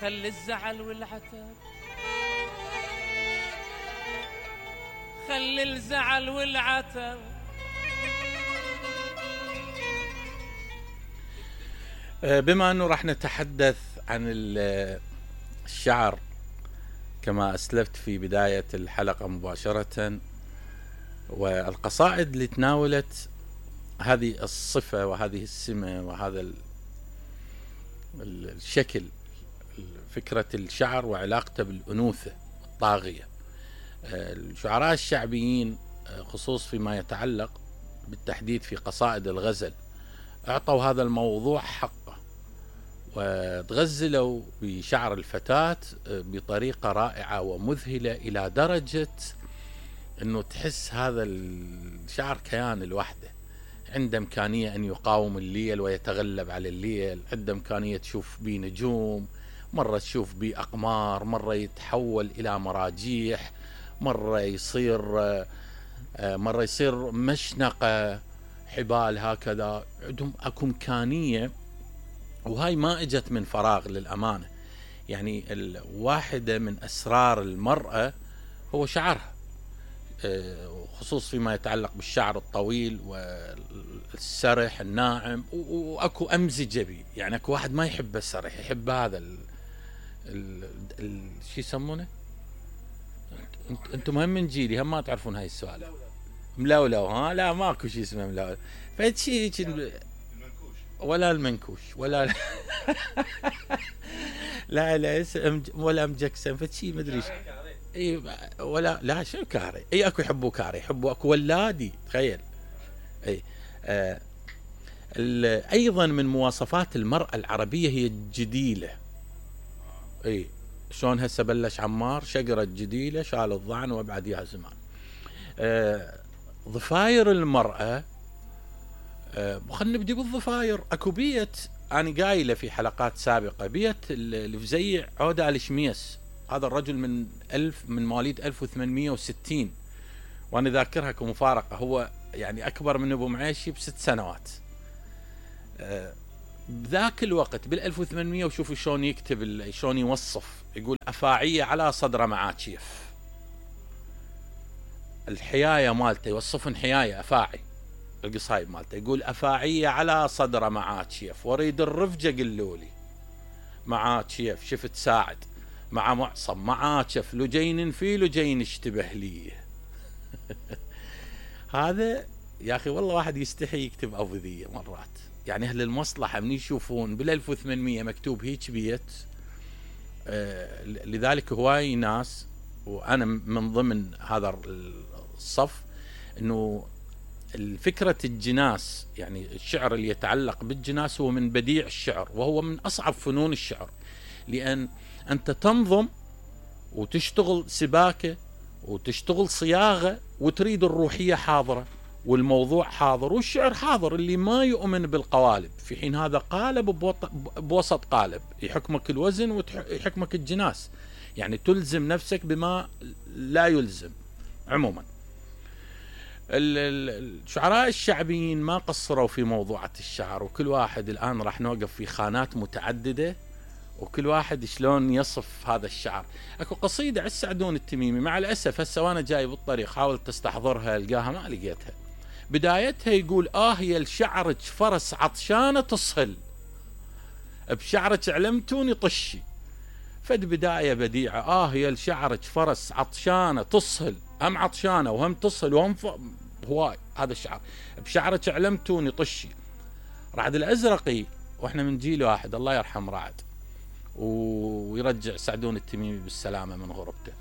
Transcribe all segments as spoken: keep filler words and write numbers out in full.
خلي الزعل والعتب، خلي الزعل والعتب. بما أنه راح نتحدث عن الشعر كما أسلفت في بداية الحلقة مباشرة، والقصائد اللي تناولت هذه الصفة وهذه السمة وهذا الشكل، فكرة الشعر وعلاقته بالأنوثة الطاغية. الشعراء الشعبيين خصوص فيما يتعلق بالتحديد في قصائد الغزل أعطوا هذا الموضوع حقه، وتغزلوا بشعر الفتاة بطريقة رائعة ومذهلة إلى درجة أنه تحس هذا الشعر كيان لوحده، عنده إمكانية أن يقاوم الليل ويتغلب على الليل، عنده إمكانية تشوف بيه نجوم، مرة تشوف بيه أقمار، مرة يتحول إلى مراجيح، مرة يصير مرة يصير مشنقة حبال هكذا. عندهم أكو إمكانية، وهاي ما اجت من فراغ للأمانة. يعني الواحدة من أسرار المرأة هو شعرها، خصوص فيما يتعلق بالشعر الطويل والسرح الناعم، وأكو أمزجة بي. يعني أكو واحد ما يحب السرح، يحب هذا ال ال ال شو يسمونه؟ انتم مهم من جيلي هم ما تعرفون هاي السؤال. ملولو. ها لا ماكو شيء اسمه ملولو، فشي ولا المنكوش ولا لا لا ولا امجكسن فشي ما ادري اي ولا لا شو كاري. اي اكو يحبوا كاري، يحبوا اكو ولادي تخيل. اي آه ايضا من مواصفات المرأة العربية هي الجديلة. اي شلون هسه بلش عمار شقرة جديلة شال الضعن وابعد يا زمان. آه ضفاير المرأة، آه خلينا نبدي بالضفاير. اكو بيت انا قايله في حلقات سابقة، بيت الفزيع عودة آل شميس. هذا الرجل من ألف من مواليد ألف وثمانمئة وستين، وانا ذاكرها كمفارقة، هو يعني اكبر من ابو معيشي بست سنوات. آه بذاك الوقت بال ألف وثمانمئة، وشوفوا شلون يكتب، شلون يوصف، يقول أفاعية على صدر معاتشيف. الحياية مالته يوصفن حياية أفاعي، القصايد مالته يقول أفاعية على صدر معاتشيف، وريد الرفجة قلولي معاتشيف شفت ساعد مع معصم معاتشف لجين في لجين اشتبه لي. هذا يا أخي والله واحد يستحي يكتب أبذية مرات. يعني أهل المصلحة من يشوفون بال ألف وثمانمئة مكتوب هيك بيت، آه لذلك هواي ناس وأنا من ضمن هذا الصف، إنه الفكرة الجناس، يعني الشعر اللي يتعلق بالجناس هو من بديع الشعر، وهو من أصعب فنون الشعر، لأن أنت تنظم وتشتغل سباكة وتشتغل صياغة وتريد الروحية حاضرة والموضوع حاضر والشعر حاضر، اللي ما يؤمن بالقوالب، في حين هذا قالب بوسط قالب، يحكمك الوزن ويحكمك الجناس، يعني تلزم نفسك بما لا يلزم. عموما الشعراء الشعبيين ما قصروا في موضوعة الشعر، وكل واحد الآن راح نوقف في خانات متعددة، وكل واحد شلون يصف هذا الشعر. اكو قصيدة على السعدون التميمي، مع الأسف هسه وانا جاي بالطريق حاولت استحضرها القاها ما لقيتها. بدايتها يقول آه يا الشعرك فرس عطشانة تصهل، بشعرك علمتوني طشي. فد بداية بديعة، آه يا الشعرك فرس عطشانة تصهل، هم عطشانة وهم تصهل وهم ف... هواي هذا الشعر، بشعرك علمتوني طشي. رعد الأزرقي، واحنا من جيل واحد الله يرحم رعد ويرجع سعدون التميمي بالسلامة من غربته،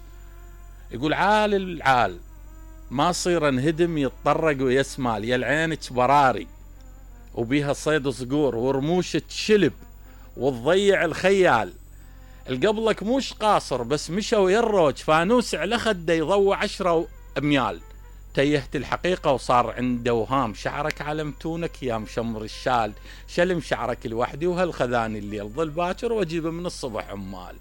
يقول عال العال ما صير انهدم يتطرق ويسمال، يا العينك براري وبيها صيد صقور ورموشك شلب وتضيع الخيال، القبلك موش قاصر بس مشى ويروج فانوس على خده يضوى عشرة اميال، تيهت الحقيقة وصار عنده وهام، شعرك علمتونك يا مشمر الشال، شلم شعرك لوحدي وهالخذاني الليل ظل باكر واجيبه من الصبح عمال.